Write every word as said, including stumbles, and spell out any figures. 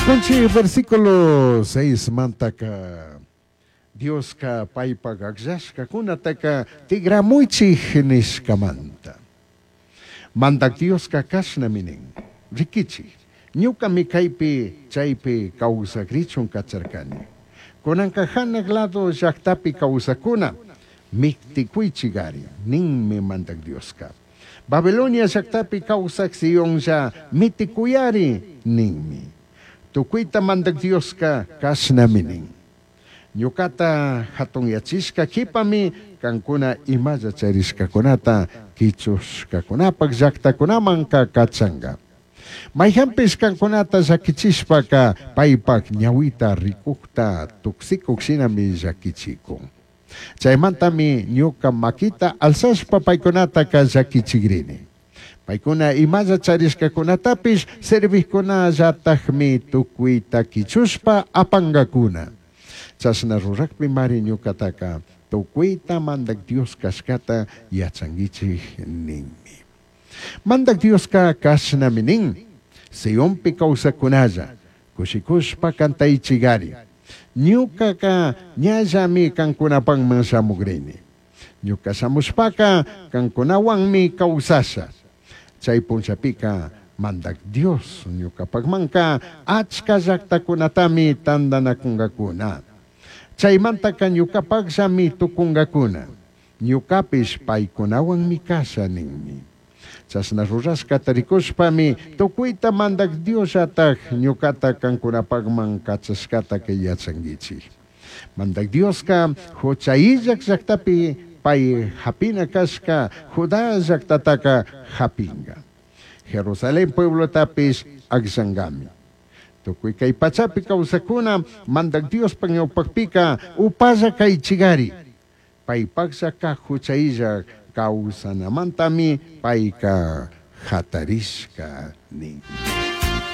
Ricunchi versículo seis mantaka Dioska paypak akllashkakunataka tigramuychik nishkamanta. Mandak Dioska kashnami nin, rikichik, ñukami kaypi chaypi kawsakrichun kacharkani. Kunanka hanaq lado llaqtapi kawsakuna miktikuychikari, ninmi Mandak Dioska. Babilonia llaqtapi kawsak Sionlla mitikuyari, ninmi. Tukuyta Mandak Dioska kashnami nin. Ñukata hatunyachishka kipami kankuna imalla charishkakunata kichushkakunapak llaqtakunamanka kachanka. Mayhanpish kankunata llakichishpaka paypak ñawita rikukta tuksikuq shinami llakichikun. Chaymantami ñuka makita alzashpa paykunataka llakichikrini. Paykuna imalla charishkakunatapish serviqkunallatakmi tukuyta kichushpa apankakuna. Chashna rurakpi mari ñukataka tukuyta Mandak Dios kashkata yachankichik ninmi. Mandak Dioska kashnami nin, Sionpi kawsakunalla, kushikushpa kantaychikari. Ñukaka ñallami kankunapanman shamukrini. Ñuka shamushpaka kankunawanmi kawsasha. Chay punchapika Mandak Dios ñukapakmanka achka llaqtakunatami tantanakunkakuna. Chaymantaka ñukapakllami tukunkakuna. Ñukapish paykunawanmi kasha ninmi. Chashna rurashkata rikushpami tukuyta Mandak Diosllatak ñukata kankunapakman kachashkataka yachankichik. Mandak Dioska hucha illak llaqtapi pay hapina kashka Judá llaqtataka hapinka. Jerusalén pueblotapish akllankami. Tukuy kay pachapi kawsakuna Mandak Diospa ñawpakpika upalla kaychikari. Paypaklla kaq hucha illak kawsanamantami payka hatarishka nin.